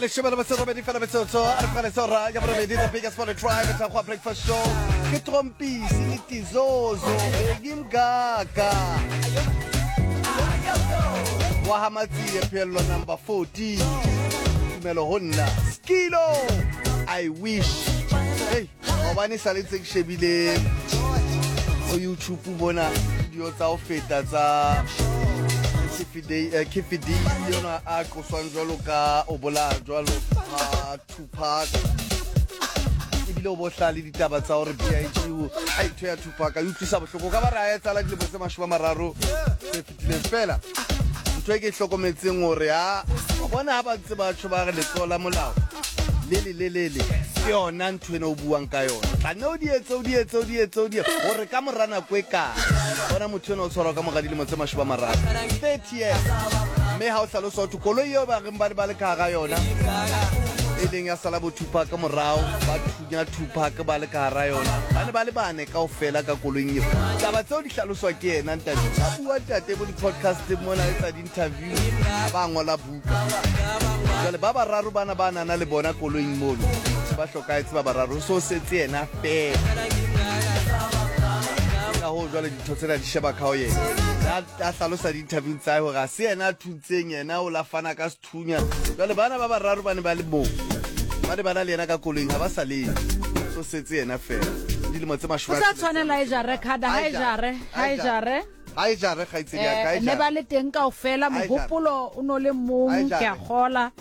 Leshome le metso robedi fela metsotso a re fane sora ya borobedi, the biggest for the tribe tsa go breakfast show ke Trompisi le Tizozo Begi Mgaga wa ha Matsie phello number 14 tumelo ho nna Skilo I wish. Hey, gobane sa le ntse ke shebile go YouTube bona video tsa ho feta tsa Kefi D yona a qoswang jwalo ka o bolaya jwalo ga Tupac, ebile o bohla le ditaba tsa gore BIG a ntho ya Tupac a utlwisa bohloko ka ba re a etsala dilemo tse 30 tse fetileng. Fela ntho e ke e hlokometseng gore a bona ha ba ntse batho ba re letsoho la molao le le le le le ke yona ntho ena o buang ka yona, tla nne o di etse o di etse o di etse o di gore ka mora nako e kae bona motho ena o tshwarwa ka mora dilemo tse 30, 30 years. Mme ha o hlalosa hore koloi eo ba reng ba ne ba le ka hara yona e leng ya sala bo Tupac morao, ba thunya Tupac ba le ka hara yona, ba ne ba le bane kaofela ka koloing eo. Taba tseo di hlaloswa ke yena ntate, ba bua ntate bo di-podcasteng mona etsa di-interview, ba ngola buka. Jwale ba bararo bana ba nana le bona koloing mono se ba hlokahetse ba bararo, so setse yena fela. Ka hoo jwale ditho tsena di sheba ka ho yena, a hlalosa di-interview tsa hae hore ha se yena a thuntseng, yena o la fana ka sethunya. Jwale bana ba bararo ba ne ba le moo, ba ne ba na le yena ka koloing, ha ba sa le so setse yena fela dilemo tse 80. O sa tshwanela e jare khada ha e jare ha e jare ha e jare kgaitsedi ya ka e ne ba le teng kaofela, mohopolo o no le mong, ke a gola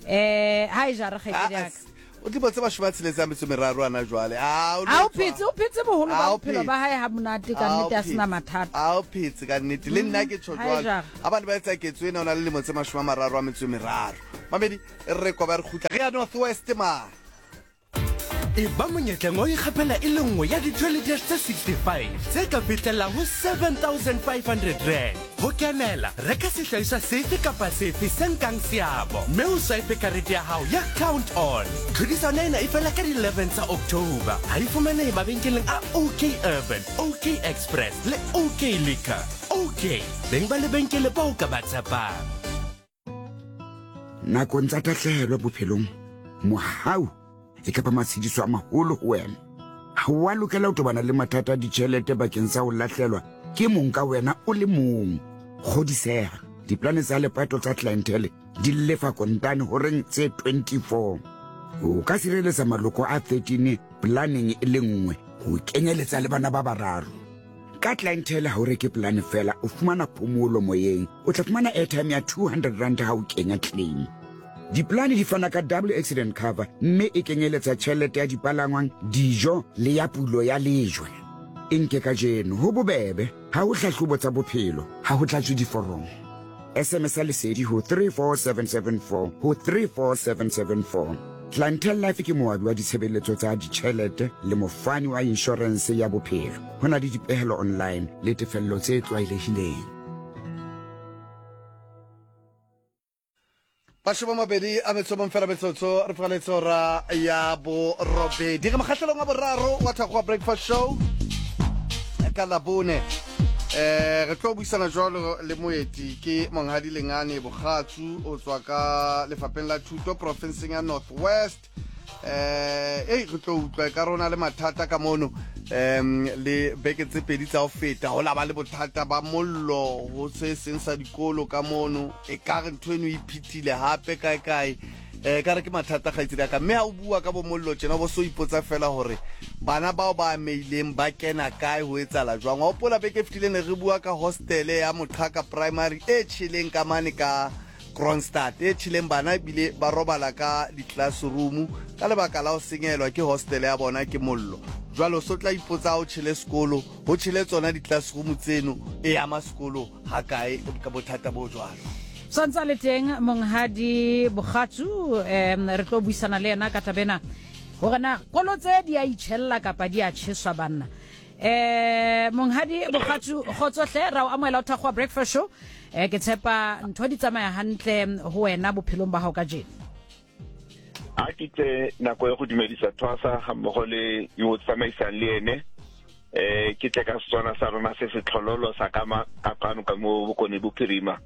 ha e jare kgaitsedi ya ka. O dilemo tse 63 ana jwale. A o phetse, o phetse boholo ba bophelo ba hae ha monate ka nnete, a sena mathata. A o phetse ka nnete, le nna ke tjho jwalo. Ha bane ba etsa ketso ena o na le lemo tse 33. Mamedi re kwa ba re kgutla re ya North West man. E ba monyetleng wa ho ikgapela e le nngwe ya di-toileters tse 65 tse ka fihlelang ho R7500. Ho kenela, reka sehlahiswa sefe kapa sefe se nkang seabo mme o swipe karete ya hao ya Count On. Tlhodisano ena e fela ka di 11 tsa October. Ha e fumanehe mabenkeleng a OK Urban, OK Express le OK Liquor. OK, beng ba lebenkele bao ka ba tshepang. Nakong tsa tahlehelo bophelong, mohau e ka ba matshediso a maholo ho wena. Ha o a lokela ho tobana le mathata a ditjhelete bakeng sa ho lahlelwa ke mong ka wena o le mong. Kgodiseha, diplane tsa lepato tsa Clientele di lefa kontane horeng tse 24. O ka sireletsa maloko a 13 planeng e le nngwe, ho kenyeletsa le bana ba bararo. Ka Clientele ha o reke polane fela, o fumana phomolo moyeng. O tla fumana airtime ya R200 ha o kenya claim. Dipolane di fana ka double accident cover mme e kenyeletsa tjhelete ya dipalangwang, dijo le ya pulo ya lejwe. E nke kajeno, ho bobebe, ha ho hlahlobo tsa bophelo, ha ho tlatswe diforomo. SMS-a Lesedi ho 34774 ho 34774. Clientele Life ke moabi wa ditshebeletso tsa ditjhelete le mofani wa inshorense ya bophelo. Ho na le dipehelo online le tefello tse tlwaelehileng. 21 fela metsotso re fogaletse ora ya borobedi, re mokgahlelong wa boraro wa Thakgoa Breakfast Show ka Labone. Re tlo buisana jwalo le moeti, ke Monghadi Lengane Bogatsu, o tswa ka lefapheng la thuto profenseng ya North West. Ei re tlo utlwa ka rona le mathata ka mono, le beke tse pedi tsa ho feta ho la ba le bothata ba mollo ho se seng sa dikolo ka mono, e ka re ntho eno e iphethile hape kae kae. Ka re ke mathata kgaitsedi ya ka, mme ha o bua ka bo mollo tjena bo so ipotsa fela hore bana bao ba ameileng ba kena kae, ho etsala jwang. Wa hopola beke e fetileng ne re bua ka hostele ya Moqhaka Primary e tjheleng ka mane ka Kroonstad, e tjheleng bana ebile ba robala ka di-classroom ka lebaka la ho senyehelwa ke hostele ya bona ke mollo. Jwale o so tla ipotsa ha o tjhele sekolo, ho tjhele tsona di-classroom tseno, e ama sekolo hakae ka bothata bo jwalo. Santsa le teng Monghadi Bogatsu, re tlo buisana le yena ka taba ena hore na kolo tse di a itjhella kapa di a tjheswa banna. Monghadi Bogatsu, kgotso hle, ra o amohela o Thakgoa Breakfast Show. Ke tshepa ntho di tsamaya hantle ho wena bophelong ba hao kajeno. A ke tse nako ya go dumedisa Thwasa ga mmogo le yo o tsamaisang le ene. Ke tle ka Setswana sa rona se se tlhololo sa ka kwano ka mo Bokone Bophirima.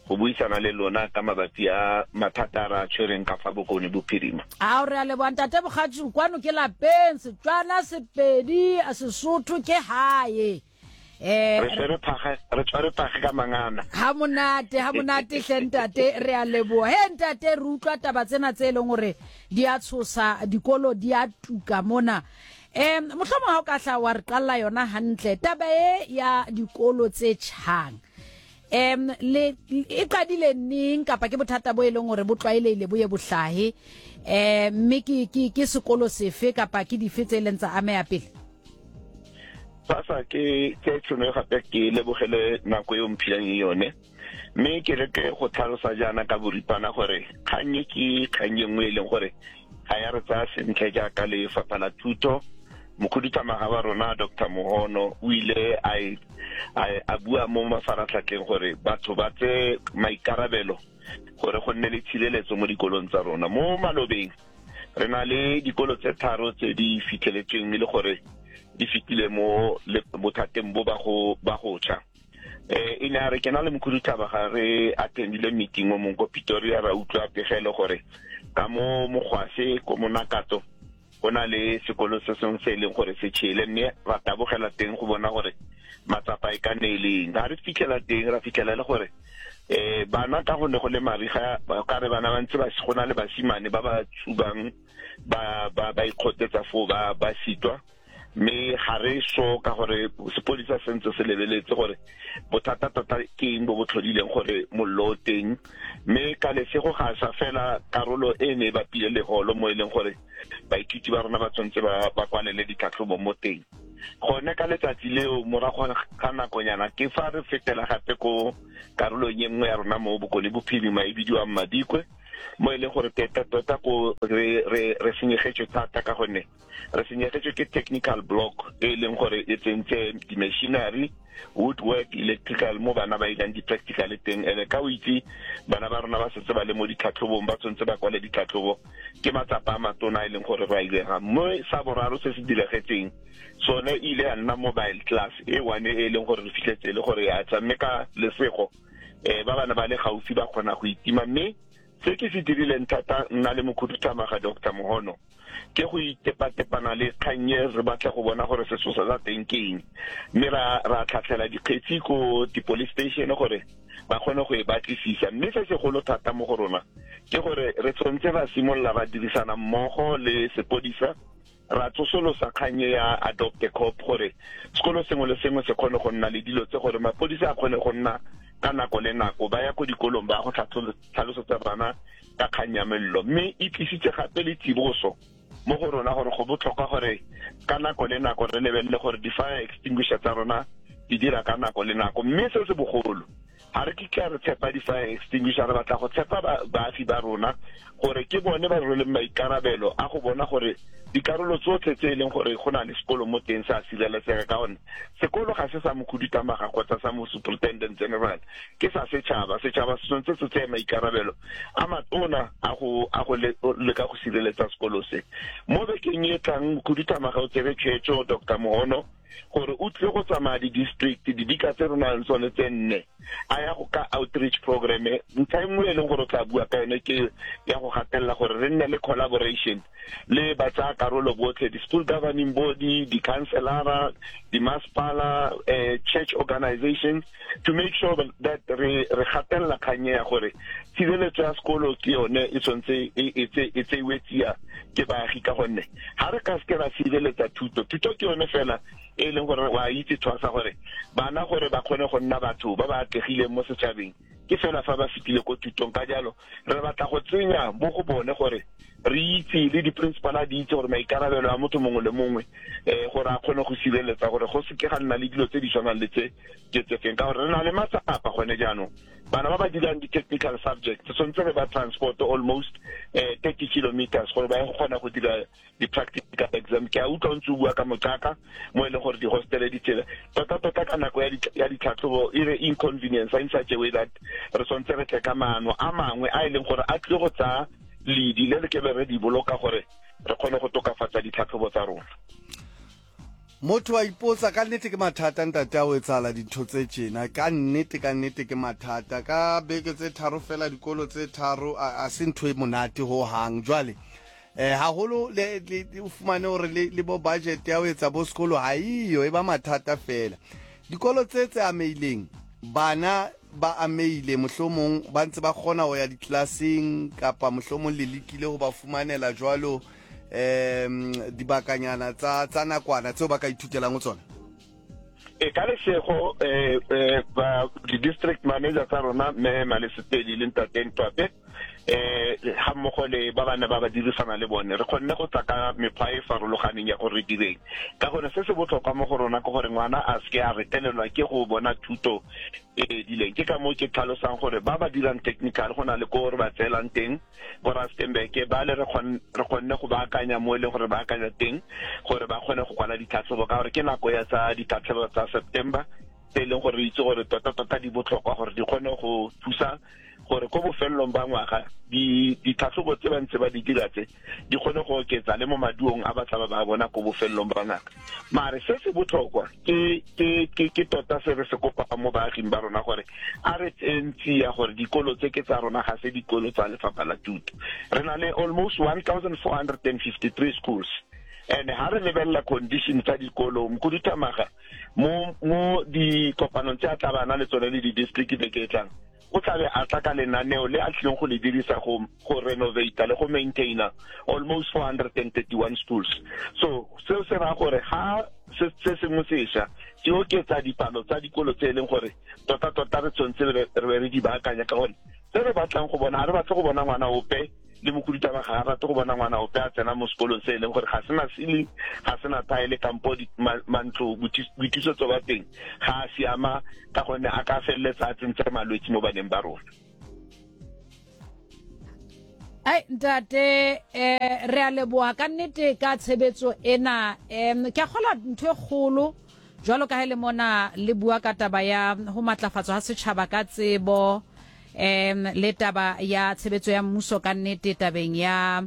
go buisana le lona ka mabapi a mathata a re a tshwereng ka fa Bokone Bophirima. Ao, re a leboga Ntate Bogatšu, kwano ke lapeng, Setswana, Sepedi, Sesotho ke gae. Eh, Re tshwere phage, re tshwere phage ka mangana. Ha monate, ha monate hle ntate, re a leboga. He ntate, re utlwa taba tsena tse e leng gore di a tshosa, dikolo di a tuka mona. Um mohlomong ha o ka hla wa re qalla yona hantle taba e ya dikolo tse tjhang. Um le e qadile neng kapa ke bothata bo e leng gore bo tlwaelehile bo ye bo hlahe? Um mme ke ke ke sekolo sefe kapa ke dife tse e leng tsa ameha pele? Sasa ke tse tšhono gape ke lebogele nako e o mphileng yone mme ke leke go tlhalosa jaana ka boripana gore kgang e ke kgang e nngwe e leng gore ga ya re tsaya sentle jaaka lefapha la thuto. Mokhuduthamaga wa rona Doctor Mohono o ile a e, a, a bua mo mafaratlhatlheng gore batho ba tse maikarabelo gore go nne le tshireletso mo dikolong tsa rona. Mo malobeng re na le dikolo tse tharo tse di fitlheletsweng e le gore di fetile mo bothateng bo ba go ba go tšha. Eh, e ne a re ke na le mokhuduthaba ga re attendile meeting o mongwe ko Pretoria, ra utlwa pegelo gore ka mo Mogwase ko Monakato go na le sekolo se sengwe se e leng gore se tšhele, mme ra tabogela teng go bona gore matsapa e ka ne e leng. Ga re fitlhela teng, ra fitlhela e le gore um bana ka go ne go le mariga, ka re bana ba ntse ba go na le basimane ba ba tshubang ba ba ba ikgotetsa foo ba ba sitwa, mme ga re so ka gore sepodisa se ntse se lebeletse gore bothata tota ke eng bo bo tlhodileng gore mollo o teng. Mme ka lesego ga sa fela karolo e ne e bapile le holo mo e leng gore baithuti ba rona ba tshwanetse ba ba kwalele ditlhatlhobo mo teng. Gone ka letsatsi leo morago ga nakonyana ke fa re fetela gape ko karolong e nngwe ya rona mo Bokone Bophirima e bidiwang Madikwe, mo e leng gore tota tota ko re re re senyegetswe thata ka gonne re senyegetswe ke technical block e leng gore e tsentse di-machinery, woodwork, electrical mo bana ba irang di-practical teng. Ene ka o itse bana ba rona ba setse ba le mo ditlhatlhobong, ba tshwanetse ba kwale ditlhatlhobo, ke matsapa a matona a e leng gore re a ilega. Mme sa boraro se se diragetseng sone e ile ya nna mobile class e one e leng gore re fitlhetse e le gore ya tsa, mme ka lesego um ba bana ba le gaufi ba kgona go itima. Mme se ke se dirileng thata nna le mokhuduthamaga Doctor Mohono ke go itepatepana le kgang e, re batla go bona gore sesosa sa teng ke eng, mme ra ra tlhatlhela dikgetsi ko di-police station gore ba kgone go e batlisisa. Mme se segolo thata mo go rona ke gore re tshwanetse ra simolola ra dirisana mmogo le sepodisa, ra tsosolosa kgang e ya adopt a cop gore sekolo sengwe le sengwe se kgone go nna le dilo tse, gore mapodisa a kgone go nna ka nako le nako ba ya ko dikolong ba go tlhalosetsa bana ka kgang ya mello. Mme e tlisitse gape le tsiboso mo go rona gore go botlhokwa gore ka nako le nako re lebelele gore di-fire extinguisher tsa rona di dira ka nako le nako. Mme se se bogolo, ga re kitla re tshepa di-fire extinguisher, re batla go tshepa baagi ba rona gore ke bone ba rweleng maikarabelo a go bona gore dikarolo tsotlhe tse e leng gore go na le sekolo mo teng sa sireletsega, ka gonne sekolo ga se sa mokhuduthamaga kgotsa sa mo superintendent general, ke sa setšhaba. Setšhaba se tshwanetse se tseye maikarabelo a matona a go a go leka go sireletsa sekolo se. Mo bekeng e tlang mokhuduthamaga o tsere tshwetso, Doctor Mohono, gore o tlile go tsamaya di-district didika tse re nang le tsone tse nne, a ya go ka outreach program. Ntlha e nngwe e leng gore o tla bua ka yone ke ya go gatelela gore re nne le collaboration le ba tsaya karolo botlhe, di-school governing body, di-councilora, di-masepala, church organizations, to make sure that re re gatelela kgang ya gore tshireletso ya sekolo ke yone e tshwanetse e tseiwe tsia ke baagi, ka gonne ga re ka seke ra sireletsa thuto, thuto ke yone fela e leng gore wa itse thwasa gore bana gore ba kgone go nna batho ba ba atlegileng mo setšhabeng ke fela fa ba fetile ko thutong. Ka jalo re batla go tsenya mo go bone gore re itse le di-principal di itse gore maikarabelo a motho mongwe le mongwe um gore a kgone go sireletsa gore go seke ga nna le dilo tse di tshwanang le tse ke tse feng, ka gore re na le matsapa gone jaanong. Bana ba ba dirang di-technical subject tshwanetse re ba transport almost 30 kilometers gore ba ye go kgona go dira di-practical exam. Ke a utlwa o ntse o bua ka moqaka mo e leng gore di-hostele di tsela tota-tota ka nako ya ditlhatlhobo e re inconvenience in such a way that re tshwanetse re tle ka maano a mangwe a e leng gore a tlile go tsaya ledi le re kebe re di boloka gore re kgone go tokafatsa ditlhatlhobo tsa rona. Motho wa ipotsa, ka nnete ke mathata ntate a ho etsahala dintho tse tjena. Ka nnete, ka nnete ke mathata. Ka beke tse tharo fela dikolo tse tharo a, a se ntho e monate ho hang. Jwale eh haholo le, le, o fumane hore le, le bo budget ya ho etsa bo sekolo ha eyo, e ba mathata fela. Dikolo tse tse amehileng, bana ba amehile mohlomong ba ntse ba kgona ho ya diklaseng kapa mohlomong le lekile ho ba fumanela jwalo um dibakanyana tsa tsa nakwana tseo ba ka ithutelang ho tsona? E ka lesego eh, eh, ba di-district manager tsa rona mme Malesepedi le ntate Ntwape eh ga mmogo le ba bana ba ba dirisana le bone re kgonne go tla ka mekgwa e farologaneng ya gore re direng ka gone. Se se botlhokwa mo go rona ke gore ngwana a seke a retelelwa ke go bona thuto e edileng. Ke ka moo ke tlhalosang gore ba ba dirang technical go na le ko re ba tseelang teng ko Rustenburg, ba le re kgonne go baakanya mo e leng gore ba akanya teng gore ba kgone go kwala ditlhatlhobo, ka gore ke nako ya tsa ditlhatlhobo tsa September tse e leng gore re itse gore tota-tota di botlhokwa gore di kgone go thusa gore ko bofelelong ba ngwaga ditlhatlhobo tse ba ntse ba di dira tse di kgone go oketsa le mo maduong a ba tla ba bona ko bofelelong ba ngaka. Mare se se botlhokwa ke ke ke ke tota se re se kopang mo baaging ba rona gore a re tseng tsia gore dikolo tse ke tsa rona, ga se dikolo tsa lefapha la thuto. Re na le almost 1453 schools, and ha re lebelela condition tsa dikolo, mokhuduthamaga mo mo dikopanong tse a tla bana le tsone le di-district beke e tlang o tlabe a tla ka lenaneo le a tlileng go le dirisa go go renovata le go maintaina almost 431 schools. So seo se raya gore ga se se sengwe sešwa se oketsa dipalo tsa dikolo tse e leng gore tota-tota re tshwanetse re be re di baakanya, ka gore se re batlang go bona, ga re batle go bona ngwana ope le mokhuduthamaga ga rate go bona ngwana ope a tsena mo sekolong se e leng gore ga sena ceiling, ga sena tile, kampo mantlo boithusetso ba teng ga a siama, ka gonne a ka feleletsa a tsentse malwetse mo baneng ba rona. Ai ntate, eh re a leboha ka nnete ka tshebetso ena. Em ke a kgola ntho e kgolo jwalo ka ha le mona le bua ka taba ya ho matlafatswa ha setjhaba ka tsebo, em le taba ya tshebetso ya mmuso ka nnete tabeng ya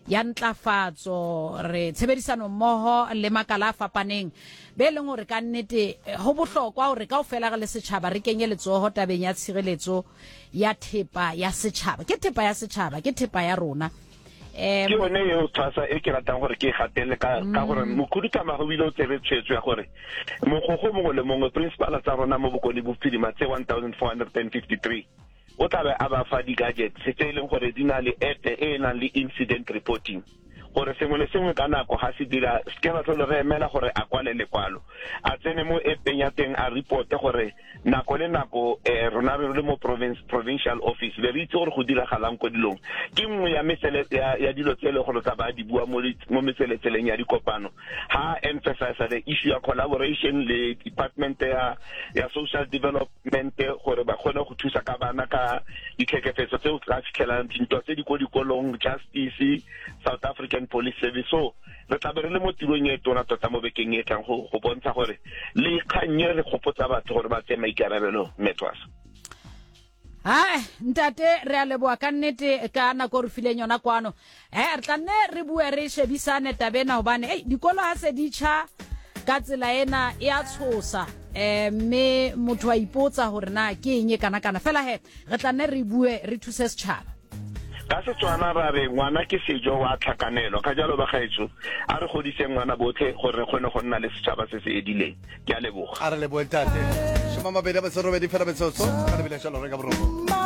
ya ntlafatso, re tshebedisano mmoho le makala a fapaneng be leng hore ka nnete ho bohlokwa hore kaofela re le setjhaba re kenye letsoho tabeng ya tshireletso ya thepa ya setjhaba. Ke thepa ya setjhaba, ke thepa ya rona. Ke yone eo tshwasa e ke ratang gore ke e gatele ka ka gore mokhuduthamaga o ile o tsere tshwetso ya gore mogokgo mongwe le mongwe, principala tsa rona mo Bokone Bophirima tse 1453, o tla be a ba fa di-gadgets tse e leng gore di na le app e e nang le incident reporting, gore sengwe le sengwe ka nako ga se dira se ke ra tlhole re emela gore a kwale lekwalo, a tsene mo appeng ya teng a reporte, gore nako le nako um rona re le mo province provincial office be re itse gore go diragalang ko dilong. Ke nngwe ya mesele ya, ya dilo tse e leng gore tla ba di bua mo mo metseletseleng ya dikopano ha emphasize the issue ya collaboration le department ya ya social development, gore ba kgone go thusa ka bana ka ditlhekefetso tse o tla fitlhelang, dintwa tse di ko dikolong, justice, South African Police Service. So re tla be re le mo tirong e tona tota mo bekeng e tlang go go bontsha gore le kgang e re gopotsa batho gore ba tseye maikarabelo metwasa. Hai ntate, re a leboa ka nnete ka nako re fileng yona kwano. Eh re tla nne re bue re shebisane tabena, hobane ei dikolo ha se di tjha ka tsela ena e a tshosa, eh mme motho a ipotsa hore na ke eng e kana kana fela. He re tla nne re bue re thuse setjhaba. Ka Setswana ra re ngwana ke sejo wa tlhakanelo, ka jalo bagaetsho a re godiseng ngwana botlhe gore re kgone go nna le setšhaba se se edileng. Ke a leboga. A re leboe ntate. 28 fela metsotso ka lebile jalo re ka boroko.